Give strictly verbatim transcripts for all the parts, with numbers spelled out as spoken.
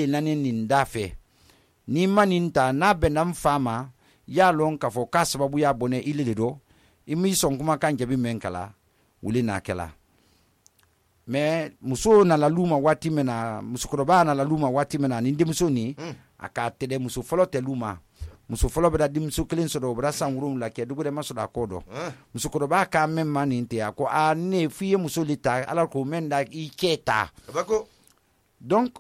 nani nin dafe ni manin ta na benam fama ya lon ka fo ka sababu ya bone ile do imi son kuma kan jabi men kala wuli na kala me muso na la luma wati mena muso koroba na la luma wati mena ni ndi muso ni mm. aka tede muso folo te luma muso folo beda dim muso klin so do bra sangurum la ke dugo de maso da kodo uh. muso koroba ka men mani nte ako a ne fiye muso lita ala ko men da iketa bako donc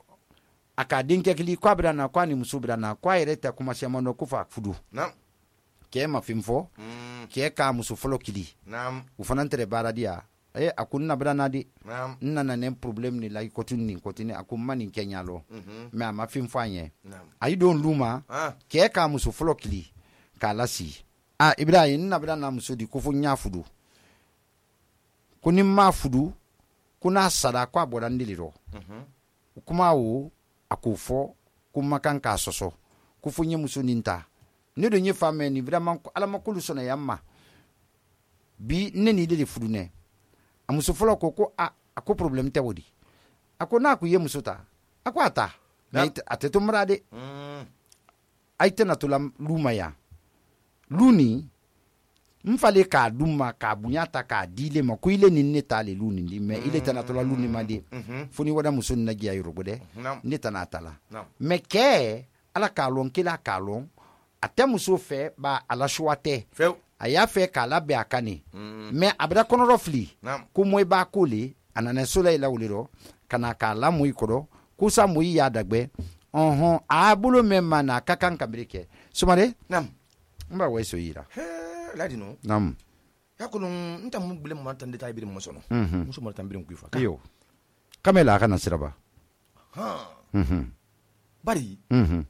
aka dinke kili kwa beda na kwa ni muso beda na kwa ireta kuma sema no kufa fudu nam ke ma fimfo mm. ke ka muso folo kili nam ufanantere baradia eh akunna beda na di nam nana ne problem ni like kotuni kotuni akumma ni kenyalo mhm me ama fimfanye nam ayi don luma ah ke ka muso folo kili ka lasi ah ibrahim na beda na muso di kufu nya fudu kuni ma fudu kuna sada kwa bodandiliro mhm kuma wo akufo kuma kan ka soso kufu nye muso ninta ne do nye femme ni vraiment ala makulu sona yamma bi ne ni de fudu ne amuso folo ko ko a ako problem te wodi ako na ku ye muso ta ako ata na ateto mrade mm aite na to la luma ya luni mfale ka duma ka bunyata ka dile ma ko ile ni ne tale luni ndi me ile tana to la luni ma de funi wada muso na giya yoro gode ne tana tala me ke ala ka lon kila ka lon ate muso fe ba ala shwate fe aya fe kala be akane mm. me abra kono rofli nam ko moy ba kole anana soleil la wuliro kana kala moy kodo kusa moy ya dagbe ohon abulo memma na kakan kamrike sumare nam mba weso yira he ladi no nam yakulun nta mun bile mun tan deta ibiri muso no mhm muso mo tan bire kuifa yo kamela kana siraba ha mhm bari mhm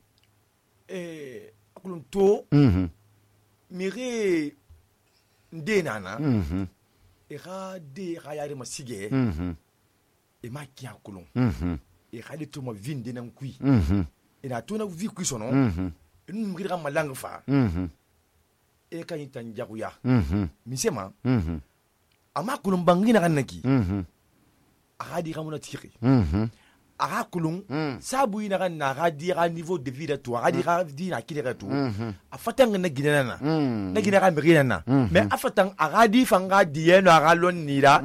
eh akulun to mhm mire nde nana mhm e ga de ga yare masige mhm e ma kiya kulun mhm e ga de to ma vinde nan kui mhm e na to na vi kui sono mhm e nu mire ga malanga fa mhm e ka yin tan jaguya mhm misema mhm ama kulun bangi na kanaki mhm aga di ga mona tiri mhm aga kulun sabu ina ga na ga di ga niveau de vie de toi aga di ga di na kire to a fatan na ginana na gina ga mire na mais a fatan aga di fanga di eno aga lon nira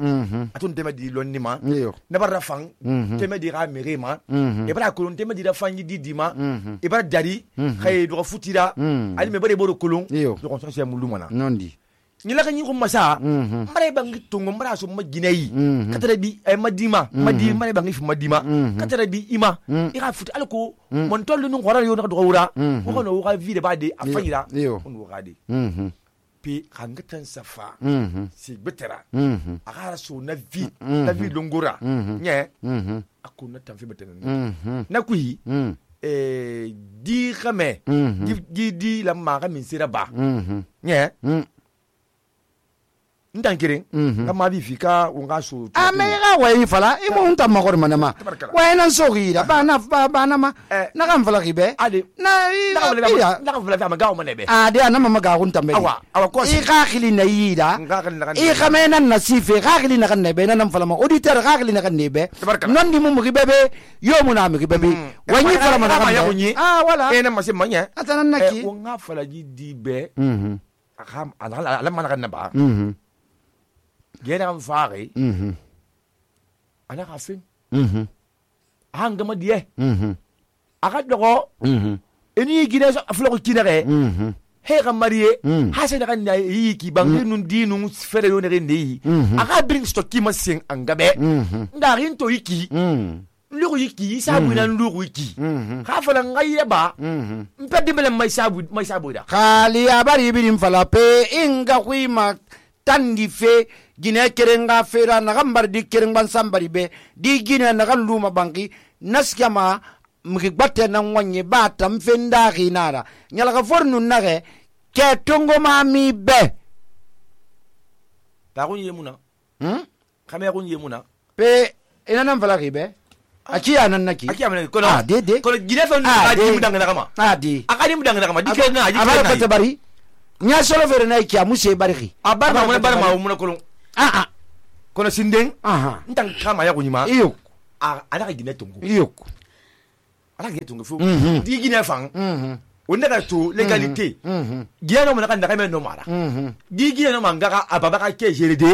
atun tema di lon nima ne bara fang tema di ga mire ma e bara kulun tema di da fangi di di ma e bara dari khay do futira ali me bare boro kulun do ko so mulumana nondi nyila ka nyiko masa mare bangi tungo mara so maginai katara bi ay madima madi mare bangi fi madima katara bi ima ira futi alko mon tollu nu ngora yo na do wura ko no wa vide ba de afayira on wo gade pi kangatan safa si betera agara so na vi na vi longora nye akuna tamfi betena na kui eh di khame di di la ma ga min sira ba nye ndankirin kama bi fika unga so amega wayi fala imo unta magor manama wayna sogira bana bana ma na kan fala gibe ade na na na kan fala fa magaw manebe ade ana mama ga unta mbe awa awa ko i khakili na yida i khamena nasife khakili na kan nebe na nam fala ma auditeur khakili na kan nebe non di mum gibe be yo muna mi gibe be wayi fala ma na ah wala ena mase manya atana naki unga fala ji di be mhm akam ala ala mana kan naba mhm gena mfare mhm ana kafin mhm hanga madiye mhm aka dogo mhm eni gine aflo ko kinere mhm he ga mariye ha se daga na yi ki bangi nun dinu fere yo ne ne aka bring stock ki masin angabe nda rin to yiki mhm lugu yiki sabu na lugu yiki ka fala ngaye ba mpedi mele mai sabu mai sabu da khali abari birim fala pe inga kuima tandi fe gine kerenga fera na gambar di kerengban sambari be di gine na kan luma banki naskama mgigbate na nwanye ba tam fenda ginara nyala ka fornu nage ke tongo mami be ta gunye muna hm kame gunye muna pe ina nan fala gibe aki anan naki aki anan kono ah de de kono gine fa adi mudanga na kama adi akadi mudanga na kama dikena aji abara pete bari nya solo fere na ki amuse bariki abara ma bara ma muna kono ah ah kono sinden aha ntan kama ya kunyima iyo a ala ka gine tongo iyo ala ge tungu fu di gine fan on daga to legalité giya no mana daga men no mara di giya no manga ababa ka ke jerede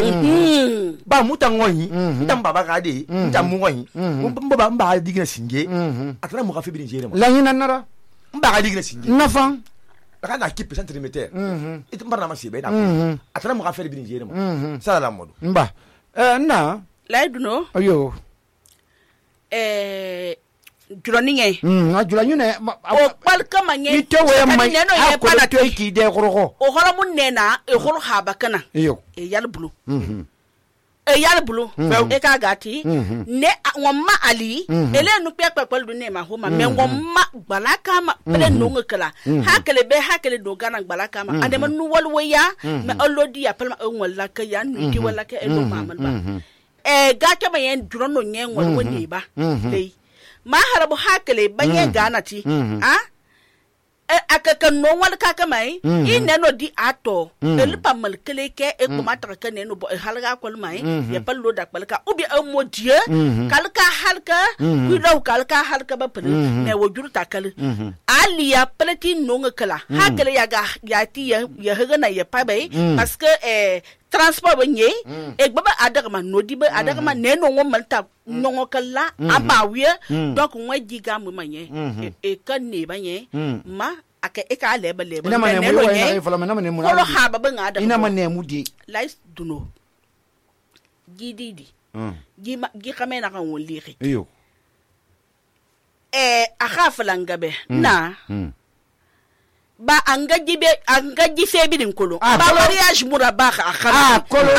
ba mutango yi tam baba ka de tam mo yi baba mba di gine singe atara mo ka fe bi jere mo la hina nara mba ka di gine singe nafan daga na kipe centimeter it mbarna ma sibe da atara mo ka fe bi jere mo sala la modo mba eh na laiduno ayo eh juroninge mm a juranyune o balka manye ite we mai neno ye para pana to ki de gorgo o holo mun nena e holo haba kana iyo e yal bulu mhm e yal bulu e ka gati ne wamma ali ele nu pepe pel du ne ma ho ma me wamma balaka ma pele no ngakala hakele be hakele do gana balaka ma ande man nu walwaya me olodi ya palma en wala ka ya nu di wala ka e do mamal ba e gata ma yen jurono nyen wal woni ba dai ma harabu hakele banye ganati a akaka no wal kaka mai ine no di ato el pamal kele ke e ko mata ka ne no bo halga kol mai ya pallo da palka ubi ammo die kalka halka ku do kalka halka ba pele ne wojur takal ali ya plati no ngakala hakele ya ga ya ti ya haga na ya pa bai parce que eh transport banye e baba adaga ma no di ba adaga ma ne no ngomal ta no kala abawie donc ngwa giga mu manye e kan ne banye ma aka e ka leba leba ina mane mu wa fala mana mane mu ko ha baba ngada ina mane mu di lais duno gididi gi ma gi kamena kan woliri iyo eh akha falangabe na ba angaji be angaji sebidin kolo ba mariage muraba ka akha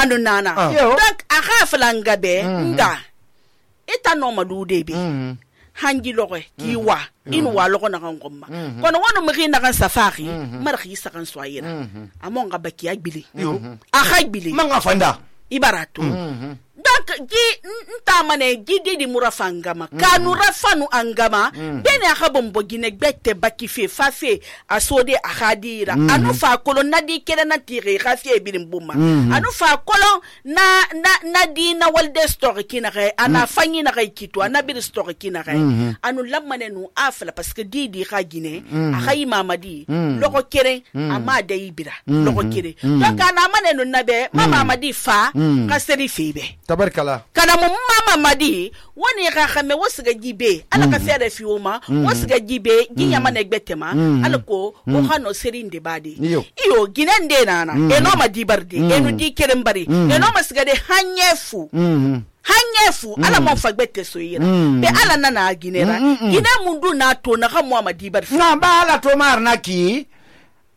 anu nana donc akha falangabe nga eta no madude bi hangi loge kiwa inu wa logo na ngomma kono wono magi na kan safari mar khisa kan soyira amon ga baki agbili akha agbili manga fanda ibarato donc gi ntamane gidi di murafangama kanu rafanu angama bene akhabom bogine gbette baki fe fa fe asode akhadira anu fa kolo nadi kele na tire khafi bilim buma anu fa kolo na na nadi na walde story kina re ana fanyi na kai kitu ana bir story kina re anu lamane nu afla parce que didi khagine akhayi mamadi loko kere ama de ibira loko kere donc ana mane nu nabe mama madi fa kaseri febe tabarkala kana mu mama madi woni ga khame wosiga jibe ala ka fere fioma wosiga jibe ginyama na gbetema ala ko o hano serinde badi iyo ginende nana eno madi bardi eno di kerembari eno masiga de hanyefu hanyefu ala mo fagbete soyira be ala nana ginera gina mundu na to na ga mu madi bardi na ba ala to mar na ki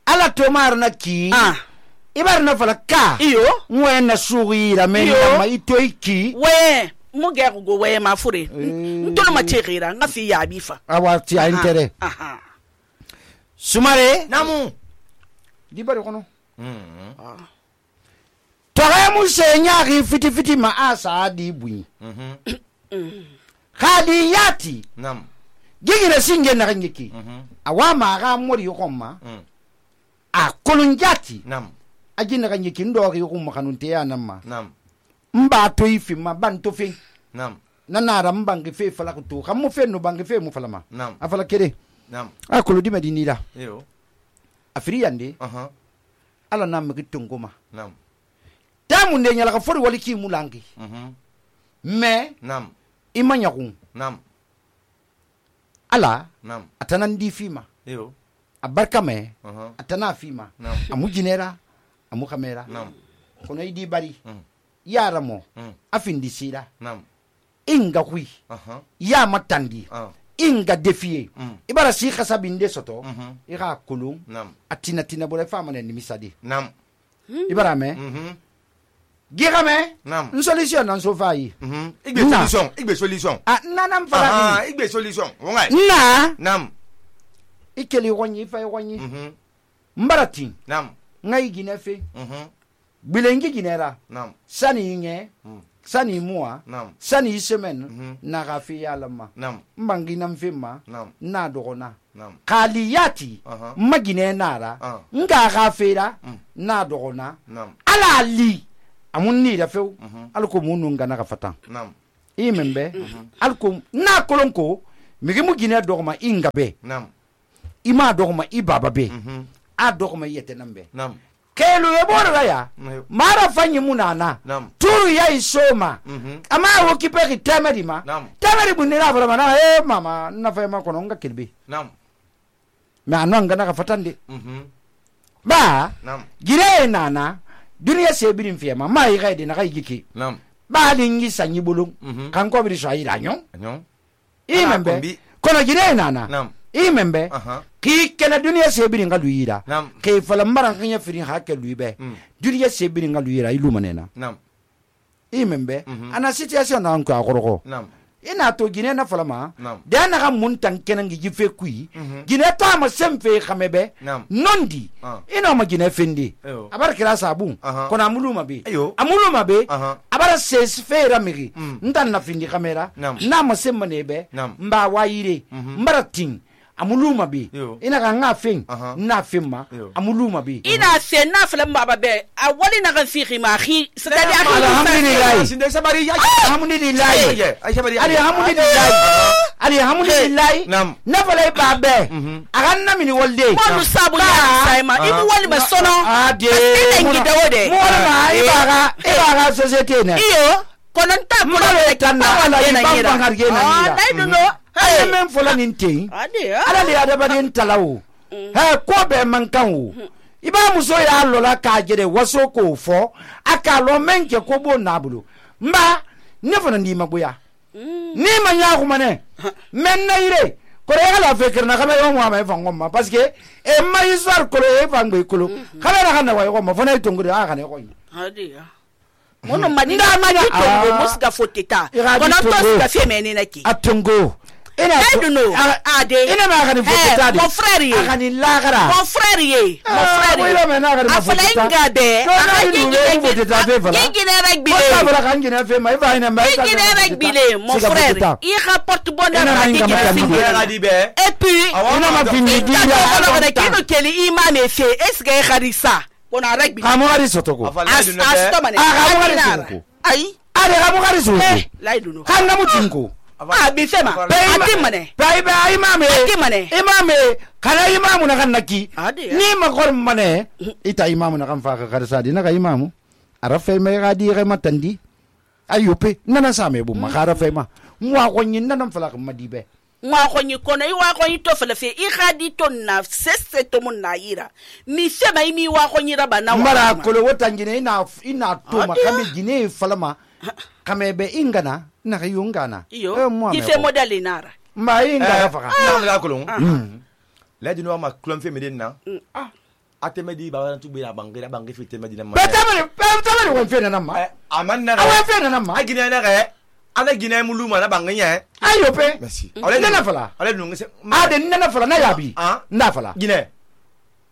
ala to mar na ki ah ibar na fala ka iyo ngwe na sugira mena ma itoiki we muge go we ma fure ntolo ma tegira nga fi ya bifa awati a intere aha sumare namu di bari kono mm tore mu senya ri fiti fiti ma asa di bui mhm khadi yati nam gigina singe na ngiki awa ma ga mori yokoma a kolonjati nam ajina kanye kindo ri ko makanunte ya namma nam mba to ifi ma ban to fe nam nanara mbangi fe fala ko to xam mo fe no bangi fe mu falama nam afala kede nam akolo di medini la yo afiri yande aha ala nam ki tongoma nam tamu ne nyala ka fori wali ki mulangi mhm me nam imanya kun nam ala nam atana ndi fima yo abarka me aha atana fima nam amu jinera amu kamera nam kono idi bari mm. yara mo mm. afindi sira nam inga hui aha ya matandi ah inga defie mm. ibara si khasabinde soto mhm ira kulum nam atina tina bole fama ne misadi nam ibara me mhm gira me nam une solution nan so fayi mhm igbe solution igbe solution ah nanam fala ah igbe solution wonga na nam ikeli wonyi fay wonyi mhm mbarati nam ngai ginefe mhm bilengi ginera nam sani nge mm. sani mua nam sani semaine mhm na gafi yalama nam mbangi nam fema nam na dogona nam kaliyati aha magine nara ah nga gafira mm. na dogona nam ala li amunni da few mhm alko munu ngana ka fatan nam imembe alko na kolonko migi mu gine dogma inga be Nam. ima dogma i baba be Mhm. a dogma yete nan be Nam. kelu ye bora ya Nam. mara fanyi munana Nam. turu ya isoma Mhm. ama wo kipe ki temedi ma Nam. temedi bunne na fara mana e mama na fa ma kono nga kilbi Nam. me anon nga na fatande Mhm. ba Nam. gire nana duniya sebirin fiyama ma yi gaidi na kai giki Nam. ba lingi sanyi bulun Mhm. kan ko bi so ayi ranyon Anyon. i Ala membe kombi. kono gire nana Nam. i membe Aha. ki kena duniya sebirin ga luyira Nam. ke fala maran kanya firin hakke luybe Mm. duniya sebirin ga luyira ilu manena Nam. i membe Mhm. ana situation na ko akoroko Nam. ina to gine na fala ma Nam. da na ga mun tan kenan gi jife kui Mhm. gine ta ma semfe khamebe Nam. nondi Ah. ina ma gine fendi Eyo. abar kira sabu Aha. kona muluma be Eyo. amuluma be Aha. abara ses fera migi Mm. ndan na findi kamera Nam. na ma semma nebe Nam. mba wayire Mhm. mbara ting amuluma be Yo. ina ga nga fin Aha. na finma Yo. amuluma be ina se na fala baba be a wali na kan fi ma khi c'est-à-dire Alhamdulillah. Sinde sabari ya. alhamdulillah Ay sabari ya. ali alhamdulillah ali alhamdulillah Nam. na fala ba be Mhm. agan na mini wolde mo sabu ya sai ma ibu wali ma sono ade ina ngida wode mo ma ibaga ibaga societe ne iyo konon ta Mo konon le tan na wala na ibang ngira bangar ge na ah ngira. dai duno ala men fola nin te ade ala le ada badin talawo he ko be man kan wo iba muso ya lola ka jere waso ko fo aka lo men ke ko bo nabulo mba ne fana ndi mabuya ni ma nya ko mane men na ire ko re ala fekir na kama yo mo ma fa ngomma parce que e ma histoire ko e fa ngbe ko kala na kana wa yo mo fana to ngure a kana ko ade mono madina madi to musga foteta konon to ska fe menene naki atungo ina I don't know. Ade. ina ma kana foteta Mon frère ye. akani lagara Mon frère ye. Mon frère ye. wila me na kana Afala inga be. Aka ni du foteta fe fala Yingine rugby ko le. ta fala kan gina fe mai fa ina mai Yingine rugby le, mon frère. Il rapporte bonheur Ina à inga Yingine makani. rugby. Ina di be. Et puis, ina ma fini di ina ya ko ko kino keli imam e fe. Est-ce que kharisa? On a rugby. kamo ari sotoko Afala As di be. astomane. Aka mo ari sotoko Ai. ari kamo ari sotoko Là il nous. kan na mutinko Ah, bi fema. Ati mane. bai bai imame Ati mane. imame kana imamu na kan naki Ade. ni ma gor mane ita imamu na kan fa ka karsa di na ka imamu arafe mai ga di ga matandi ayope nana sa me bu ma ka arafe ma mwa ko nyin nan fala ka madibe Mwa ko nyi kono i wa ko nyi to fele fe i khadi to na sese to mun na yira mi fema i mi wa ko nyi raba na wa mara ko lo wotangine ina ina to ma Ade. kambe gine falama kame be ingana na ka yungana iyo mwa i fe model inara ma inga fa ka Na la kolon. La di no ma klon fe medin na. Ah. Ateme di ba tu be na bangira bangi fi teme di na ma. betamani betamani won fe na ma Aman na. awen fe na ma Ay gine na re. Ana gine mu luma na banginya. ayope Merci. nana fala Ale nu ngese. ade nana fala na yabi Ah. nda fala Gine.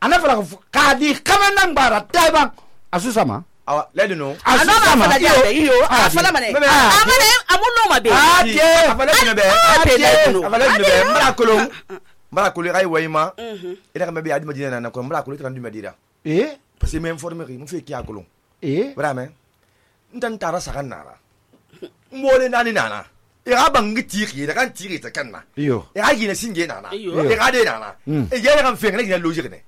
ana fala ka di kama nan bara taiban asusama Awa la di no. ano ma fala jade iyo afala mane Meme. amane amuno ma be ade Afala di be. ade Afala di be. Mara kolon. Mara kolon ay wayma. mhm Ina ka mebe adi madina na ko mara kolon tan du medira. eh Parce que me informer mu fe ki akolon. eh Vraiment. Ntan tara sakan nara. Mole nani nana. Ira bangi tiri da kan tiri ta kanna. iyo Ira gine singe nana. Iyo. Ira de nana. Mm. E yere kan fe ngene gine logique ne.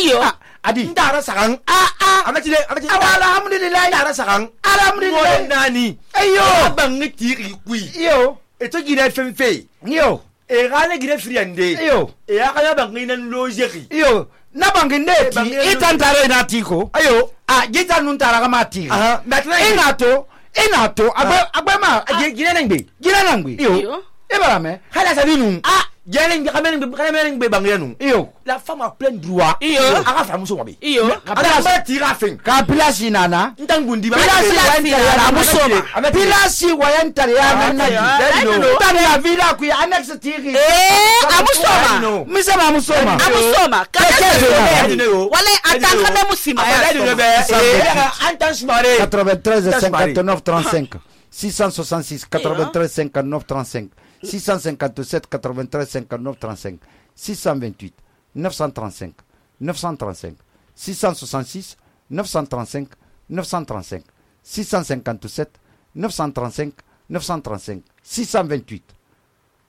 iyo adi Ndara sakan. ah ah Amati de amati. alhamdulillah Ndara sakan. alhamdulillah Mole nani. ayo Ira bangi tiri kui. iyo E to gine fem fe. iyo E gane gine friande. iyo E ya kaya bangi nan logique. iyo na banginde ti banginde- itantare na tiko Ayo. ah jita nun tara kama ti Aha. Maintenant ina to ina to agbe agbe ma gine nangbe. gina nangbi iyo iyo ibara me Hala sabinu. ah Gine ngi kamene ngi kamene ngi bangi nu. iyo La femme a plein de droits. Iyo. Aga fa muso wabi. iyo Ala ba tira fin. ka pilasi nana Ntan gundi ba. pilasi Pilasi wayantare nana, ya musoma. musoma pilasi wayantare ya Ah, nanaji ah, Daddy ah, no. ah, tani ya vila ku ya annex tiri eh amusoma no. misema musoma amusoma Keke kada zona. se wala atanga me musima Afala di ya be. Eh, antan smare. quatre-vingt-treize Das cinquante-neuf trente-cinq six cent soixante-six quatre-vingt-treize cinquante-neuf trente-cinq six cent cinquante-sept quatre-vingt-treize cinquante-neuf trente-cinq six cent vingt-huit neuf cent trente-cinq neuf cent trente-cinq six cent soixante-six neuf cent trente-cinq neuf cent trente-cinq six cent cinquante-sept neuf cent trente-cinq neuf cent trente-cinq six cent vingt-huit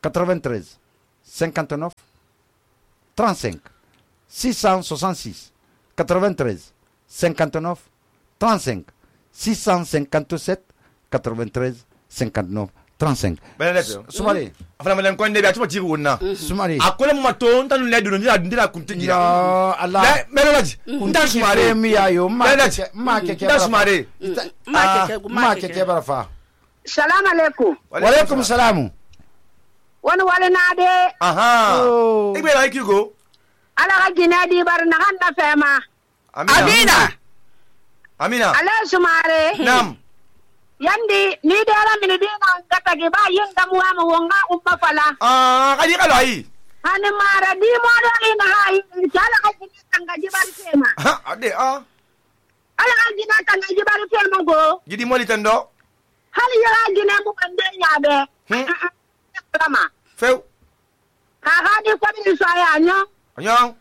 quatre-vingt-treize cinquante-neuf trente-cinq six cent soixante-six quatre-vingt-treize cinquante-neuf trente-cinq six cent cinquante-sept quatre-vingt-treize cinquante-neuf trente-cinq. Sumare. Afana malen ko ndebe atuma tiri wonna. Sumare. Akole mato ntanu le duno ndira ndira kunti ya Allah. Melodi. Nda sumare mi ayo ma ma keke. Nda sumare. Ma keke ma keke barafa. Salam alaikum. Wa alaikum salam. Wani wale na de. Aha. Igbe la ikigo. Ala ga gina di bar na kan na fema. Amina. Amina. Ala sumare. Nam. Yandi ni dara mini dina gata gi ba yin gamu wa mu wonga umma fala. Ah, kali kala yi. Hani mara di mo do ina hai sala ga gina tanga ji bar fema. Ha, ade ah. Ala ga gina tanga ji bar fema go. Gidi moli tando. Hali ya gina mu bande ya be. Kama. Feu. Ka ga di ko bi so ya nyo. Anyo.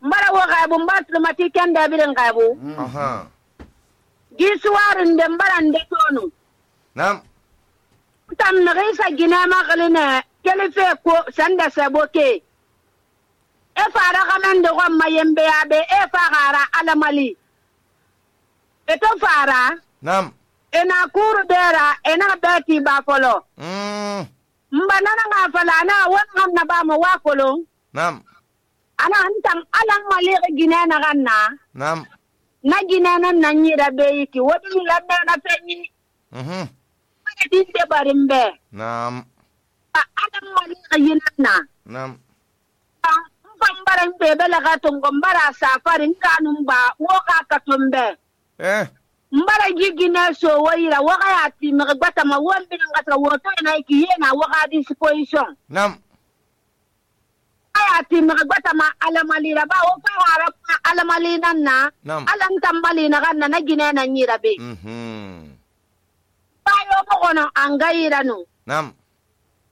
Mbara wo ga bu mbat ma ti kenda bi den ga bu. Aha. Gisuwarin da mbaran da tonu. Nam. Tam na gaisa gina makalina kelife ko sanda saboke. E fara kaman da gwamma yembe ya be e fara alamali. E to fara. Nam. E na kuru dera e na beti ba folo. Mm. Mbana na nga fala na wan na ba mo wa folo. Nam. Ana antam alang mali gina na ganna. Nam. Na gina nan nan yi da bai ki wani lambe na fenyi. Mhm. Mana din da barin be. Nam. A adam wani ayin na. Nam. Ba ban baran be bela ga tungon bara safarin kanun ba wo ka ka tumbe. Eh. Mbara gigina so wayira wo ga ya ti mi gbata ma won bin ngata wo to na ki yena wo ga disposition. Nam. Aya ti mi gbata ma alamali ra ba wo fa wara alamali nan na. Nam. Alam tambali na kan na gina na nyira be. Mhm. Bayo mo kono angayira no. Nam.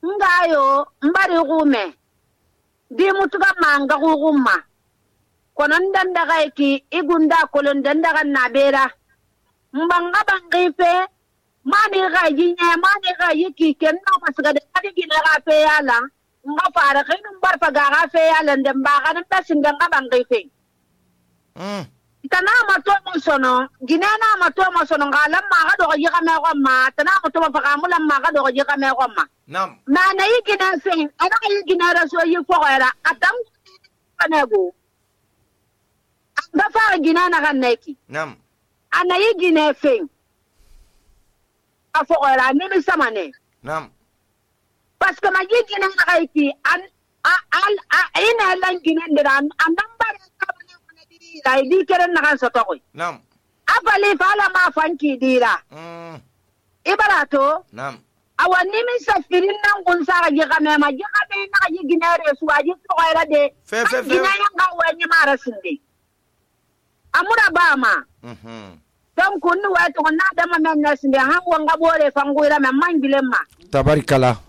Ngayo mbari gume. Di mutuga manga gugumma. Kono ndanda gaiki igunda kolon ndanda kan nabera. Mbanga bangife mani ga yinya mani ga yiki kenno pasga de kadi gina ga fe yala. Nga fara kinu mbar paga ga fe yala ndemba ga nta singa nga bangife. Mm. Tana mato mo sono gina na mato mo sono ngala ma ga do yi ga me ko ma tana mato mo paga mula ma ga do yi ga me ko ma. Nam. Na na yi gina sen ana yi gina raso yi ko era atam panego. Anda fa gina na kan neki. Nam. Ana yi gina sen. Afo era ni mi samane. Nam. Parce que ma yi gina na kai ki an al a ina lan gina ndira an namba ka la di keren na kan soto ko. Nam. Afali fala ma fanki dira. Mm. Ibarato Nam. awani mi safirin nan kun sa ga ga me ma ga be na yi gina re su aji to era de. Fe fe fe. Gina yan ga wani mara sinde. Amura ba ma. Mhm. Don kun wa to na da ma men na sinde han wanga bore fangoira me mangile ma. Tabarikala.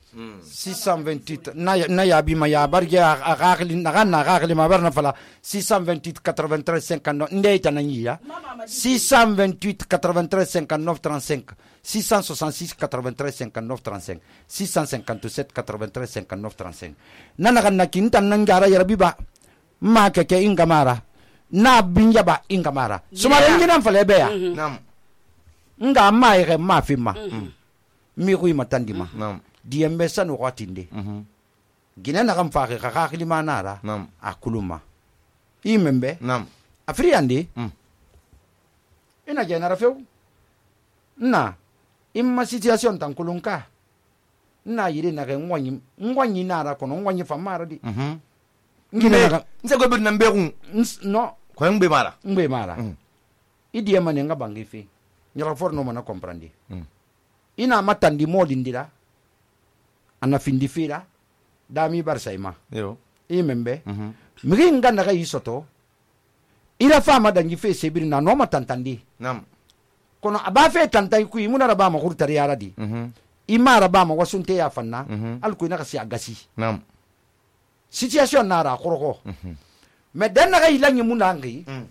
Mm. six cent vingt-huit na na ya bi ma ya barge a gakli na na gakli ma barna fala six cent vingt-huit quatre-vingt-treize cinquante-neuf ndey tanani ya six cent vingt-huit quatre-vingt-treize cinquante-neuf trente-cinq six cent soixante-six quatre-vingt-treize cinquante-neuf trente-cinq six cent cinquante-sept quatre-vingt-treize cinquante-neuf trente-cinq nana kan nakin tan nan gara yarabi ba ma keke ingamara na binya ba ingamara suma ngina fale be ya Nam. nga ma ire ma fi ma mi ku matandi ma Nam. diembe sanu watinde Mhm. gina na kam faaki ka kakili manara Nam. akuluma imembe Nam. afriandi Mm. ina genera few na imma situation tan kulunka na yiri na ken wanyi ngwanyi nara kono ngwanyi famara di Mhm. ngina na ka- Nse go bit nambe ku. ns- no Ko ngbe mara. ngbe mara Mm. idi mane nga bangi fi nyara for no mana comprendre Mm. ina matandi molindira ana findi fira dami barsaima Yo. imembe Mhm. migi nganda ga isoto ira fama dangi fe sebiri na no matantandi Nam. kono aba fe tantai ku imuna raba ma hurtari yara di Mhm. ima raba ma wasunte ya fanna Mhm. al ku ina kasi agasi Nam. situation na ra koroko Mhm. me den na ga ilanyi munangi Mm.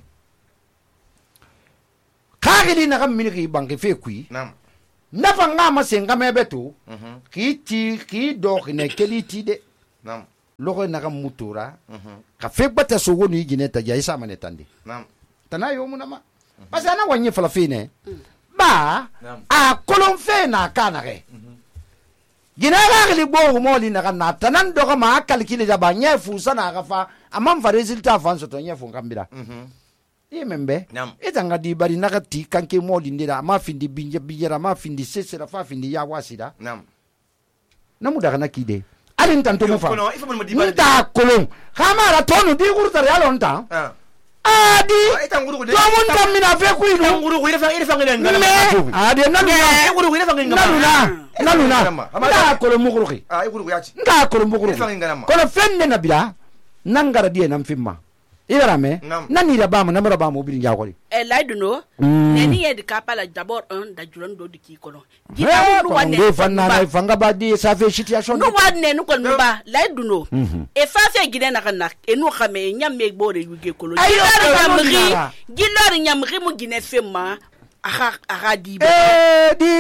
kagili na ga minigi bangi fe ku Nam. nafa nga ma senga me beto ki ti ki do ne keli ti de nam logo na ga mutura ka fe bata so woni gine ta ja isa mane tande nam tana yo mun ma basa na wanye fala fine ba a kolon fe na kana ge gine ga li bo mo li na na tanan do ma kalkili da ba nye fu sana ga fa amam fa resultat fa so to nye fu kambira e membe etanga di bari nakati kanke moli ndira ma findi binje bijera ma findi sesera fa findi ya wasida nam namu daga nakide alin tanto mu fa kono ifa mo di bari nta kolon kama ra tonu di gurta ya lonta ah adi eta nguru de to mun tamina fe ku ilu nguru ko ire fa ire fa ngene ngala adi nalu na nguru ko ire fa ngene nalu na nalu na nda kolon mu guru ki ah nguru ko yachi nda kolon mu guru kono fenne na bila nangara die nam fimma ibara me nani da bamu namara bamu bi nja koli e laidu no neni ye de kapala d'abord un da juran do di ki kono gida mu wane do fanna na fanga ba di sa fe situation no wane no kon ba laidu no e fa fe gida na kana e no xame nyam me gbore yuge kolo nyamri gilor nyamri mu gine femma aha aha di e di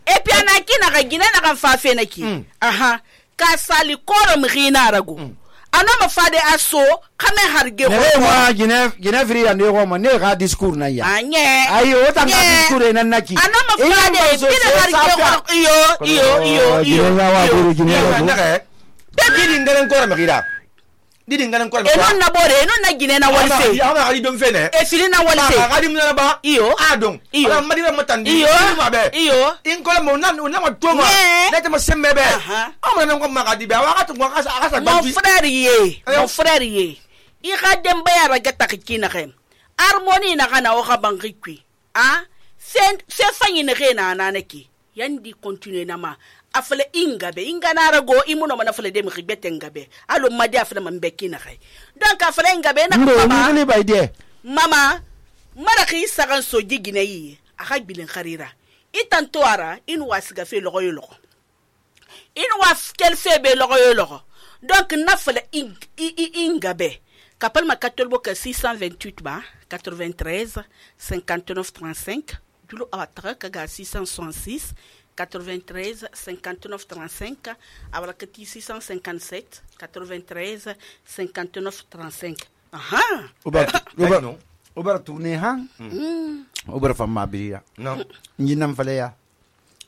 e pi ana kina ga gina na kan fa fe na ki aha ka sali koro mrina rago ana ma fade aso kame harge ko ne wa gine gine fri ya ne ko ma ne ga discours na ya anye ayo ta ga discours na naki ana ma fade bile harge ko iyo iyo iyo iyo ya wa buru gine na ga didi ngalen ko ma gira didi ngalen ko ma e non na bore e non na gine na wali fe ya ma ali don fe ne e fili na wali fe ga di mun na ba iyo adon ala madira matandi iyo ma be iyo in ko mo nan na ma to ma na ta ma semme be amana nan ko ma ga di be wa ga to ko asa asa mon frère ye mon frère ye i ga dembe ya raga takina gem harmonie na kana o ga bangikwi ah sen se fanyi ne gena na naki yandi continue na ma afale ingabe ingana rago imuno mana afale de mi gbete ngabe alo madi afale man bekina khay donc afale ingabe na mama ni bayde mama mara khi sagan so jigine yi aka bilen kharira itanto ara in wasiga fe logo yo logo in was kel febe logo yo logo donc nafale ingabe kapal ma katolbo ka six cent vingt-huit ba quatre-vingt-treize cinquante-neuf trente-cinq julo awatra kaga six cent soixante-six quatre-vingt-treize cinquante-neuf trente-cinq abrakati six cent cinquante-sept quatre-vingt-treize cinquante-neuf trente-cinq aha oba oba oba tourner ha oba fama biya non nyinam fale ya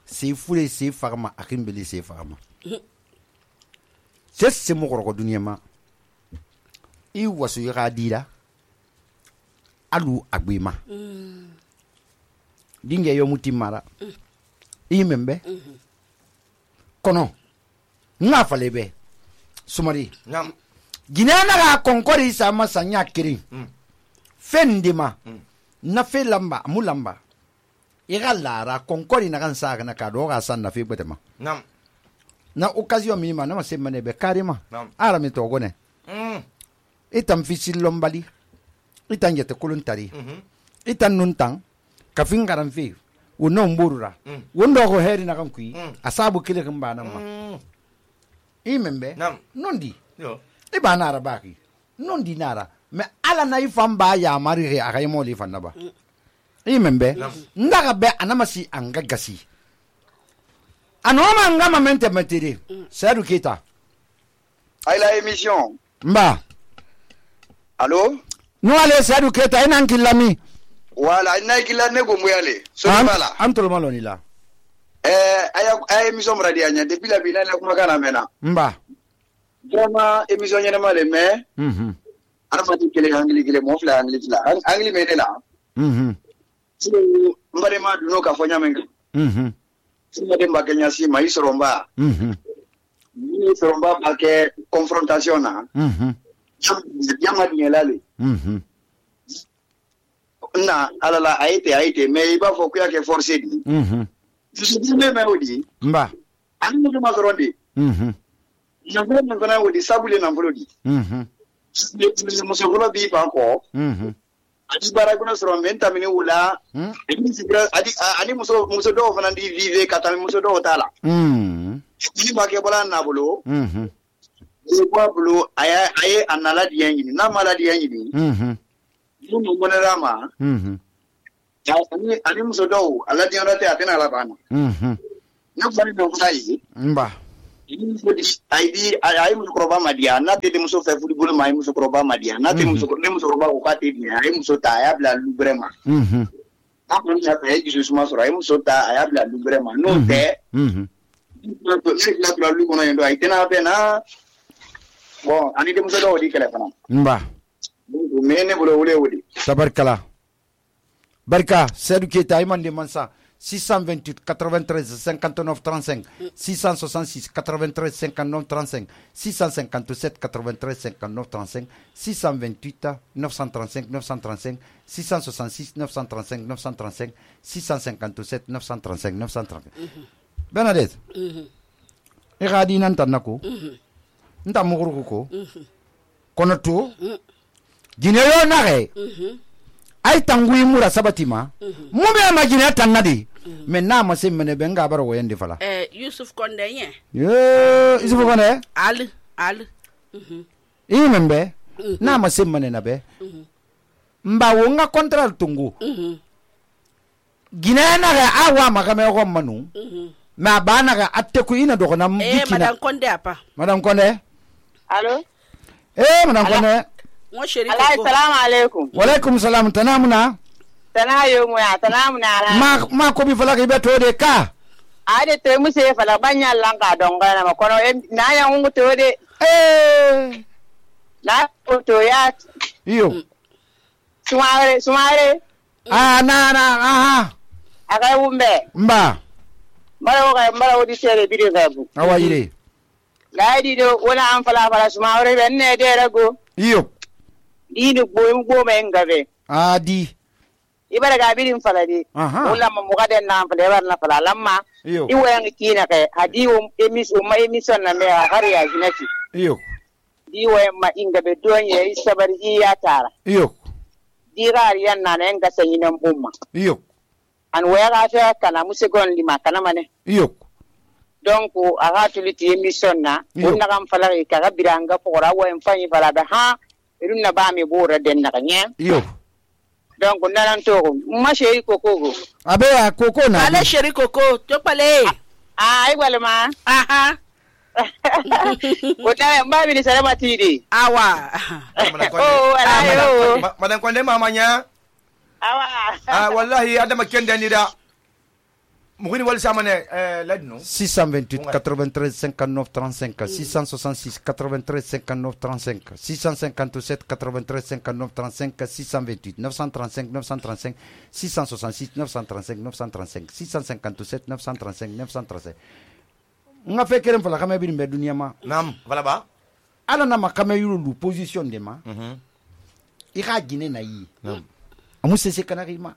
c'est foulé c'est farma akimbeli c'est farma c'est c'est mo ko dunya ma i wasu ya dira alu agbima dinge yo mutimara i membe kono nga falebe sumari nam ginana ga konkori sama sanya kiri fendima na fe lamba mulamba ira lara konkori na kan saka na kado ga san na fe betema nam na occasion minima na se mane be karima nam ara mi to gone mm itam fisil lombali itan yete kuluntari mhm itan nuntang kafin garan fe wono mburura wondo ko heri na kan kui asabu kile kan bana ma i membe nondi yo e bana arabaki nondi nara me ala na ifamba ya mari re akay mo li fanna ba i membe ndaga be anamasi angagasi anoma ngama mente metiri sedu kita ay la émission mba allo no ale sedu kita ina nkilami wala ina kila ne go muyale so bala antol maloni la eh aya ay émission radio nya depuis la bina la kuma kana mena mba vraiment émission nya male mais mhm ana fati kele angli kele mo fla angli fla angli mene la mhm so mbare ma duno ka fonya menga mhm si ma dem bakanya si mai soromba mhm ni soromba ba ke confrontation na mhm yama ni elale mhm na alala aite aite mais iba fo kuya ke forcer di mhm je suis même odi mba ani mo ma soronde mhm na vele ngona odi sabule na mbolodi mhm mo se volo bi pa ko mhm adi bara kuna soron venta mini wula adi ani muso muso do fana di vive kata muso do tala mhm ni ba ke bola na bolo mhm ni ba bolo aya aye anala di yangi na mala di yangi mhm ni mo monera ma mhm ani ani muso dɔw ala diyara tɛ a tɛna ala banna mhm ne fari dɔw fana ye mba ayi ayi musokɔrɔba ma diya n'a tɛ muso fɛ furu bolo ma ayi musokɔrɔba ma diya n'a tɛ muso ne musokɔrɔba ko k'a tɛ diya a ye muso ta a y'a bila lubrɛ ma mhm n'a kɔni y'a fɛ a ye dusu suma sɔrɔ a ye muso ta a y'a bila lubrɛ ma n'o tɛ mhm ne tila lu kɔnɔ yen don a ye tɛnɛ bɛɛ na bon ani denmuso dɔw di kɛlɛ fana mba mais ne bolo wele wele tabarkala barka Seydou Keita imande mansa six cent vingt-huit quatre-vingt-treize cinquante-neuf trente-cinq six cent soixante-six quatre-vingt-treize cinquante-neuf trente-cinq six cent cinquante-sept quatre-vingt-treize cinquante-neuf trente-cinq six cent vingt-huit neuf cent trente-cinq neuf cent trente-cinq six cent soixante-six neuf cent trente-cinq neuf cent trente-cinq six cent cinquante-sept neuf cent trente-cinq neuf cent trente-cinq Bernadette e gadi nan tanako nta muguru ko kono to gineyo nare ay tangui mura sabatima mu be ma gine tanade mais na ma se mene be nga baro woyende fala eh Yusuf Konde yen ye Yusuf Konde al al mhm i membe na ma se mene na be mba wo nga contrat tungu mhm gine nare awa ma kame ko manu mhm ma bana ga atte ku ina dogo na eh bikina madame Konde apa madame Konde Allô? eh madame Konde mo sheri ko Assalamu alaikum. wa alaikum salam tanamuna Tana yo mu ya tana mu na. ma ma ko bi fala ke beto de ka Ade te mu se fala banya langa donga na makono na ya ngu to de. eh Na ko to ya iyo sumare sumare ah na na aha aga umbe. mba Mara ga mara odi sere bidi ga bu. awa yire La di do wala an fala fala sumare ben ne de rago. iyo Di ni bo bo me ngabe. adi Ibara ga bidin fala di. aha Wala ma mu ga den na fala bar na fala lamma. iyo Iwa yang kina kai hadi o emis o mai emison na me har ya jinati. iyo Di wa ma inga be don ya isabar iya tara. iyo Di ga yan na na nga sanyi nan bumma. iyo An waya ga ta kana musegon lima kana mane. iyo Donc aga tuliti emission na Iyo. unna kam fala ka ga biranga pora wa en fanyi fala da ha irun na ba mi bora den na kanya. iyo Donc nanan to ma sheri kokoko. abe a koko na ale sheri koko to pale Ah ai wala ma. aha Ko ta ba mi ni salama tidi. awa Oh ala yo. Madan Konde mamanya. Awa. Ah wallahi adama kende ni da. Mugini wal samane eh ladno. six cent vingt-huit quatre-vingt-treize cinquante-neuf trente-cinq six cent soixante-six quatre-vingt-treize cinquante-neuf trente-cinq six cent cinquante-sept quatre-vingt-treize cinquante-neuf trente-cinq six cent vingt-huit neuf cent trente-cinq neuf cent trente-cinq six cent soixante-six neuf cent trente-cinq neuf cent trente-cinq six cent cinquante-sept neuf cent trente-cinq neuf cent trente-cinq nga fe kerem fala kame bi mbe dunia ma Nam, wala ba? ala na makame yulu lu position de ma Mhm. i ka gine na yi Nam. amu sese kanari ma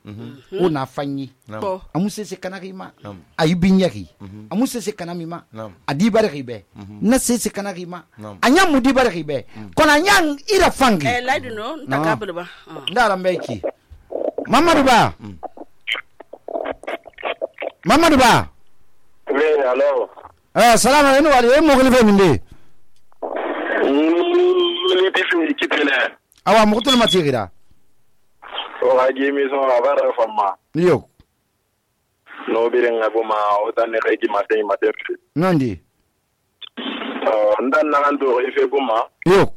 o na fanyi bo amu sese kanari ma Nam. ayi binyaki amu sese kanami ma Nam. adi bare ribe na sese kanari ma Nam. anya mudi bare ribe kona nya ira fangi eh ladu no ntakabele ba ndara mbeki mamadu ba mamadu ba Oui, alors. eh salama enu wali e mogli fe minde Ni bisu kitene. awa mukutul matigira O ga gimi so avara fama. yo No birenga buma o tane regi matin matin. nandi Oh, ndan na ando ife buma yo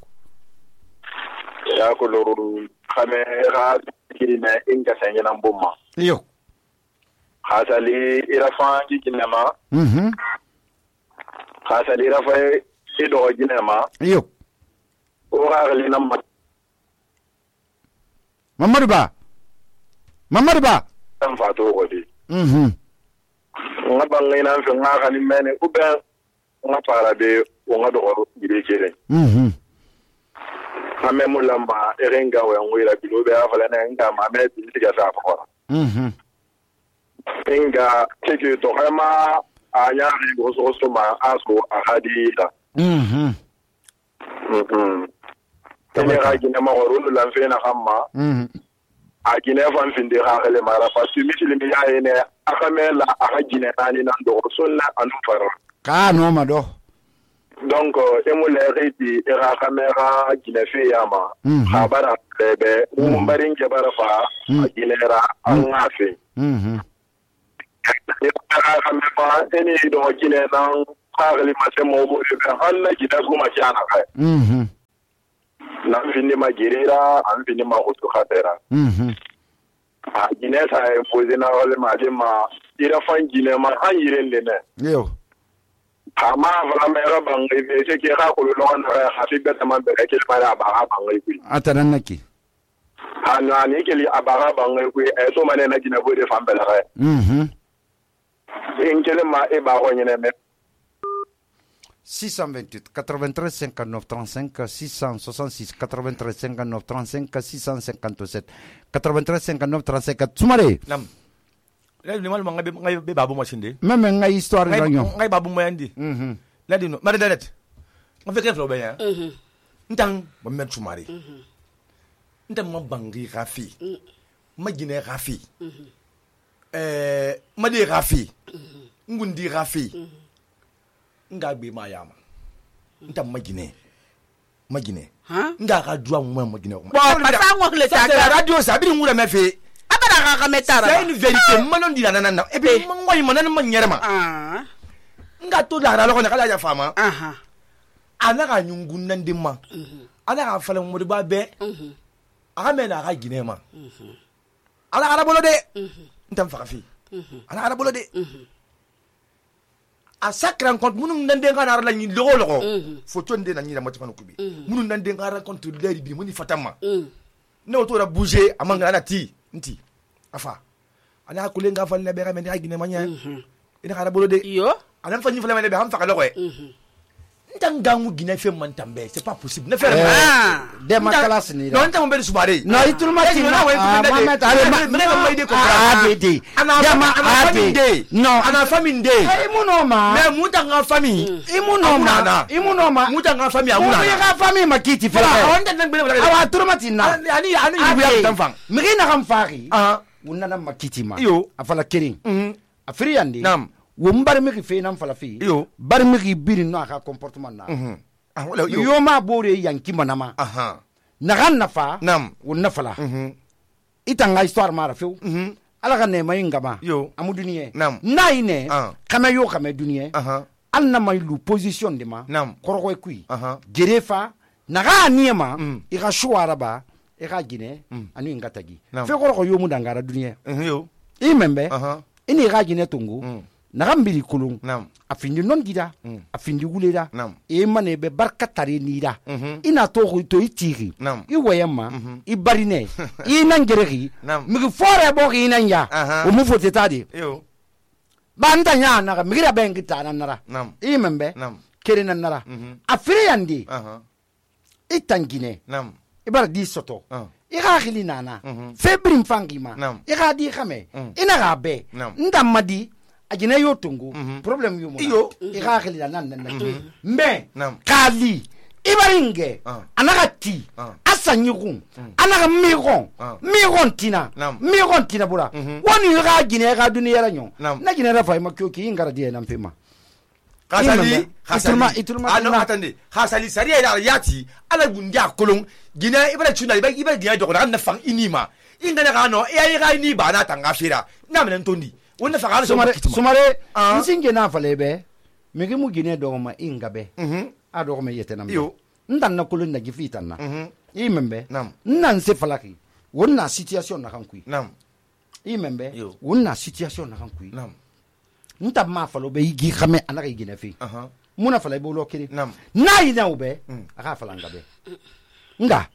ya ko loru khame ga kirina inga sanya nan buma. yo Khasali ira fangi kinema, mhm khasali ira fa ido kinema. yo O ga gali nam mamadu ba mamadu ba matan fa to godi. mhm Nga bangai nan fe nga khani mene ube nga para be o nga do gide kire. mhm Ame mulamba erenga wa ngwira bilobe afala na nga mame bilitiga sa fa. mhm Inga keke to kama anya ri goso goso ma aso ahadida. mhm Mhm. Tene ga gina ma woro la fe na kama mhm a gina fan fin de ha ele mara fa su mitili mi ya ene akamela aka gina nani nan do sunna anu fara. ka no ma do donc e mu lɛɛri ti e ka kamera ginɛfe yama ha bara bɛbɛ mun barin ke bara fa a ginɛra an ŋa fe e ka kamera e ni dɔn ginɛ nan kagili ma se mɔgɔ bolo bɛ an na ginɛ kuma ci ana kai nan fini ma girira an fini ma utu khatera a ginɛ sa e poze na wale ma de ma ira fan ginɛ ma an yiren de ne yo ama fana mɛra bange be se ke ka ko lo na ha fi beta man be ke mara ba ha bange ku atanan naki ana ni ke li abara bange ku e so mane na gina bo de fan bela re mhm en kele ma e ba ho nyene me six cent vingt-huit quatre-vingt-treize cinquante-neuf trente-cinq six cent soixante-six quatre-vingt-treize cinquante-neuf trente-cinq six cent cinquante-sept quatre-vingt-treize cinquante-neuf trente-cinq Sumare nam la ni mal ngai ngai be babu machinde même ngai histoire ngai ganyo ngai babu mayandi mhm la dino mari dalet on fait quelque chose bien mhm ntang ba met Sumare mhm ntang ma bangi rafi ma gine rafi mhm eh ma de rafi ngundi rafi nga gbe ma yama nta magine magine ha nga ka duwa mo magine ko ba sa ngo le ta ka radio sa bi ngura me fe abara ka ka metara c'est une vérité manon di nana na e be mo ngoy manan ma nyerema ah nga to la ra lo ko kala ya fama aha ana ka nyungun nan dimma ana ka fala mo ba be aga me na ka gine ma ala ara bolo de ntam fa fi ala ara bolo de a chaque rencontre munun nan de ngana la ni logo logo fo tonde na ni la motifano kubi munun nan de ngana rencontre leri bi muni fatama ne oto ra bouger amanga na ti nti afa ana ko le nga fa le be ramene agine manya ina kala bolo de yo ana fa ni fa le be ham fa logo e ntangangu gina fe man tambe c'est pas possible ne faire ah de ma classe ni non ntango be Sumare no itulma ti na Mohamed ale me me mai de ko ah de ana ana famille no ana famille de imuno ma mais mutanga famille imuno ma imuno ma mutanga famille Muna amuna ka famille makiti fa on den ben awa turma ti na ani ani ya tanfang migi na kam fari ah wunna na makiti ma yo afala kirin mhm afiri yandi nam wo mbar migi fe nan fala fi yo bar migi biri no aka comportement na mhm ah wala yo yo ma bore yanki manama aha na gan nafa nam wunna fala mhm itanga histoire mara fe mhm ala kan ne mai ngama yo amu duniye nam naine ah kama yo kama duniye aha al na mai lu position de ma nam koroko kui aha gerefa naga niema Mm. i ga shuara ba i ga gine Mm. anu ngatagi Nam. fe koroko yo mu dangara duniye mhm yo i membe aha ini ga gine tungu Mm. naga mbiri kulung nam afindi non gida Mm. afindi wuleda nam e mane be barka tare nida mhm ina to to itiri nam i wayama Mhm. i barine i nan geregi Nam. mi fore bo ki nan ya Aha. o mu fote tadi yo banda nya naga mi gira bengi ta nan nara nam i membe nam kere nan nara mhm afire yandi aha i tangine nam i bara di soto ah i ga khili nana Mhm. febrim fangima Nam. i ga di khame Mm. ina ga be Nam. ndamadi ajine yo tungu Mhm. problem yo mo Iyo. i ga khili nana nan me Nam. kali ibaringe Ah. anaga ti Ah. asanyigun anaga migon Ah. migon tina Nam. migon tina bura Mhm. woni ga gine ga duniya ra nyo Nam. na gine ra fa ma kyoki ingara die na mpema khasali Imam, khasali iturma- iturma ano tuna. atande khasali sariya ila yati ala gundia kolon gina ibara chuna ibara ibara gina joko na fang inima ingana kano e ai ga ni bana tanga fira na men tondi wonna fa ga so sumare makitima sumare Ah. nsinge na fa lebe mege mu gine do ma ingabe mhm a do ma yete na me Iyo. ndan na kulun na gifita na mhm imembe Nam. nan se falaki wonna situation na kan kui nam imembe Iyo. wonna situation na kan kui nam nta ma falo be igi khame anaka igine fi aha muna fala ibo lo kiri Nam. na ina ube Mm. aka fala ngabe nga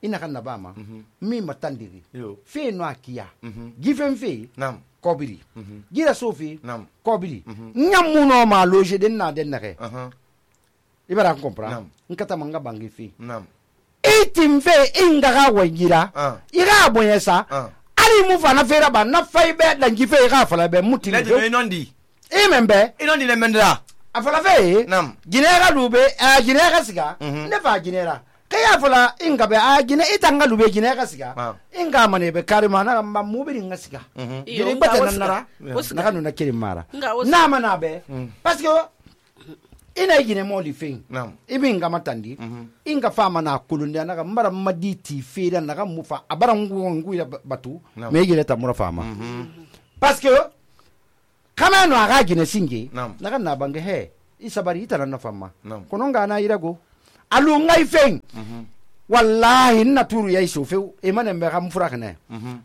ina kan nabama mi matandiri Yo. fe no akia Mhm. gifen fe nam kobiri gira sofi Nam. kobiri nyamuno ma loje den na den nake aha ibara kompra Nam. nkata manga bangi fi nam itim fe inga ga wajira Ah. ira boyesa Ah. ali mu fana fera ba na fai be dan gife ga fala be muti le de nondi imembe inondi le mendra afala fe Nam. ginera lube a ginera siga Mhm. ne fa ginera kaya fala inga be a gine itanga lube ginera siga Ah. inga mane be karima na ma mubiri nga siga mhm Iyo, gine nga bata wasiga. nanara Wasiga. na kanu na kiri mara Nga wasiga. na mana be parce que ina igine mo li fen Naam. ibi nga matandi inga fama na kulunde na ga mara maditi fera na ga mufa abara ngu ngu ya batu me igine ta mura fama parce que kama no aga gine singe Naam. na ga na bange he isabari itana na fama Naam. kono nga na irago alu ngai fen wallahi na turu yayi sofe e manen be kam furakne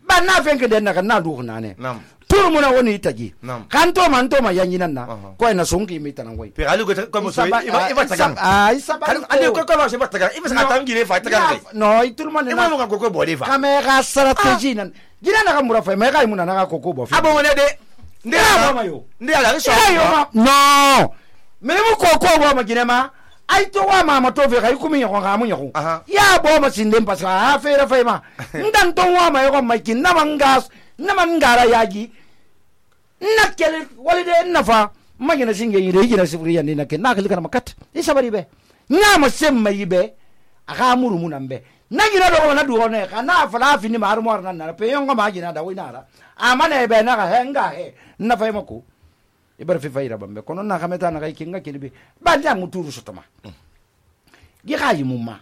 ba na fen ke den na ga na du na ne Naam. turu muna woni itagi Naam. kanto man to ma yanyi nan na Aha. ko ina songi mi tanan wai Pe alu ko ko mo so Isaba- iba iba ah, tagan. isab- ah, isabari Kan ande ko ko mo so iba tagan. Iba sa tan gine fa tagan dai. no itul man Iba mo na kan ko ko bode fa. kame ga strategy nan gina na ga mura fa me ga imuna na ga koko bo Abo wona de. Nde Ya, mama yo. Nde ala so. yo ma no me mu koko bo ma gina ma ai to wa ma ma to fe ga ikumi ko ga mu nyako Aha. ya bo ma sinde pas ha fe ra fe ma ndan to wa ma yo ma kin na mangas na mangara yaji na kele wali de na fa ma gina singe yire gina sifri yan ni na ke na kele kana makat isabari be na ma semma yibe aga muru munambe na gina do na duwo ne kana fala fini ma har mo na na pe yongo ma gina da winara amana be na ga henga he na fa mako ibar fi fayra bambe kono na kameta na kai kinga kilibi ba ja muturu sotoma gi ga yi mumma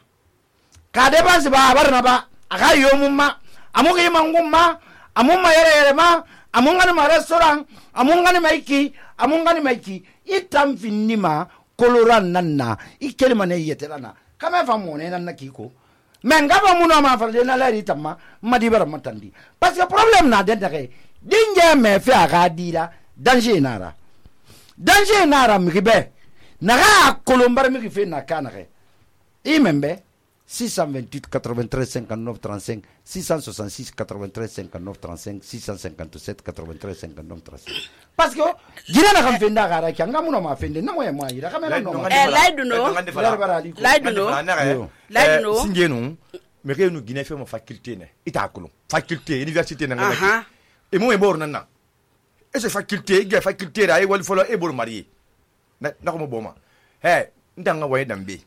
ka de ba ba bar na ba aga yo mumma amu gi mangumma amu ma yere yere ma amu ngani ma restaurant amu ngani maiki amu ngani maiki itam finima koloran nanna ikelma ne yetelana kama fa mo ne nan na kiko men ga ba muno ma fa de na lari tamma madi bar matandi parce que problème na den dake dinje me fe aga dira danger nara danger nara mi be na ga kolombar mi fe na kana ke imembe six cent vingt-huit quatre-vingt-treize cinquante-neuf trente-cinq six cent soixante-six quatre-vingt-treize cinquante-neuf trente-cinq six cent cinquante-sept quatre-vingt-treize cinquante-neuf trente-cinq parce que jira na kan fenda gara kyanga muno ma fende na moya moya ira kamera no Eh, laidu no. Laidu no. Laidu no. Singe no. Me ke no gine fe mo faculté ne. Ita kulo. Faculté université na ngala. Aha. E mo e bor nan na. E se faculté, ge faculté ra e wal folo e bor marié. Na na ko mo boma. He, ndanga waye dambe.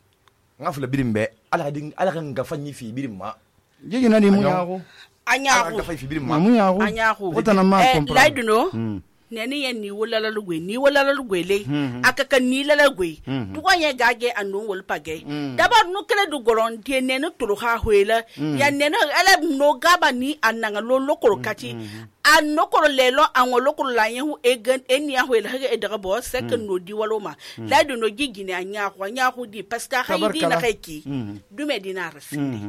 Nga fula birimbe ala din ala kan ga fanyi fi birimma. jigi na ni mu yago Anyaku. Ala ga fanyi fi birimma. mu yago Anyaku. wata ma Eh, comprendre laidu no. Neni yen ni wala la lugwe ni wala la lugwe le akaka ni la lugwe duwa ye gage anu wol page dabar no kele du goron die ne no turu ha huela ya ne no ala no gaba ni ananga lo lokoro kati an no koro lelo an wo lokoro la yehu egen eni ya huela hage edaga bo sek no di waloma la do no gigine anya ko anya ko di parce que haydi na kayki dume dina rasindi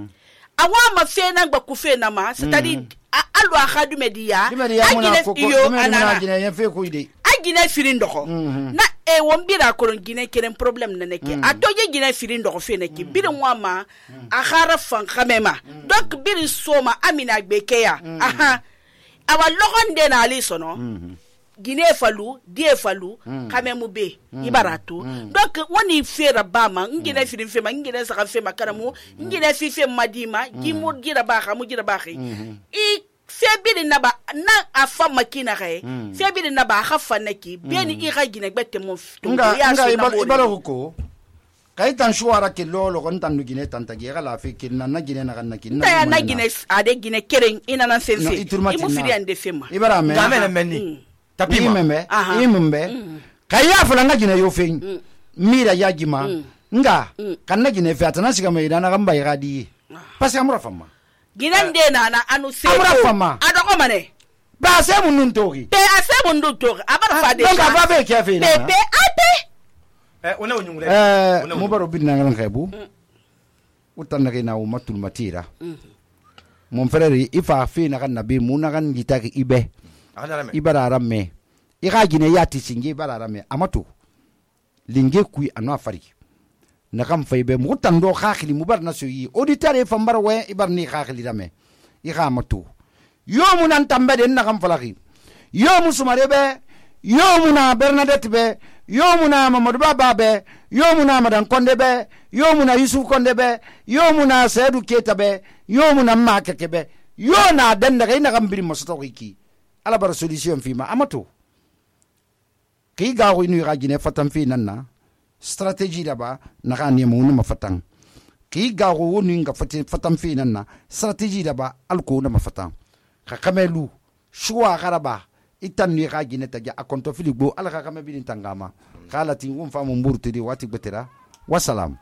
awa ma fe na gba ku fe na ma c'est-à-dire alu akhadu media agine iyo anana agine yen fe ko ide agine firin doxo na e won bira ko gine keren problème na neke atoje gine firin doxo fe neke birin wama a khara fan khamema donc birin soma amina bekeya aha awa logon de na ali sono gine falu die falu kamemu be ibaratu donc woni fera bama ngine firin fe ma ngine saka fe makaramu ngine fi fe madima gimu gira ba khamu gira ba khi i febiri naba na afa makina kai febiri naba khafa naki beni i ga gine gbette mo nga nga ibaro ko kai tan shuara ke lolo kon tan gine tan ta gera la fe kin na gine na kan kin na na gine ade gine keren ina na sense imu firi ande fema ibara me Game na menni. Tapi ma. imembe imembe kai ya fula nga gine yo fe mira ya gima nga kan na gine fe atana siga me na kan bai gadi parce que amura fama gine de na na anu se amura fama adoko mane ba se mun nun togi pe ase mun du to abara fa de donc ava be ke fe na pe pe ate Eh, ona wonyungule. eh mo baro bin na ngan kaybu utan na na o matul matira mon frère ifa fe na kan nabi mu na kan gitaki ibe Ala me. ibara ramme i ga gine yati singe ibara ramme amatu linge kui anu afari na kam faybe mu tando khakhli mu bar na soyi auditeur e fambar we ibar ni khakhli rame i ga matu yo mu nan tambe den na kam falaki yo mu sumare be yo mu na Bernadette be yo mu na Mamadou Baba be yo mu na Madan Konde be yo mu na Yusuf Konde be yo mu na Seydou Keita be yo mu na Makeke be yo na den daga ina kam biri masoto ki ala bar solution fi ma amatu ki ga ko inu ga gine fatam fi nanna stratégie daba na ga ne mu ma fatan ki ga ko woni nga fatam fi nanna stratégie daba alko na ma fatan ka kamelu shuwa garaba itan ni ga gine taja akonto fili gbo ala ka kame bin tangama kala tin won famu mburtidi wati betera wassalam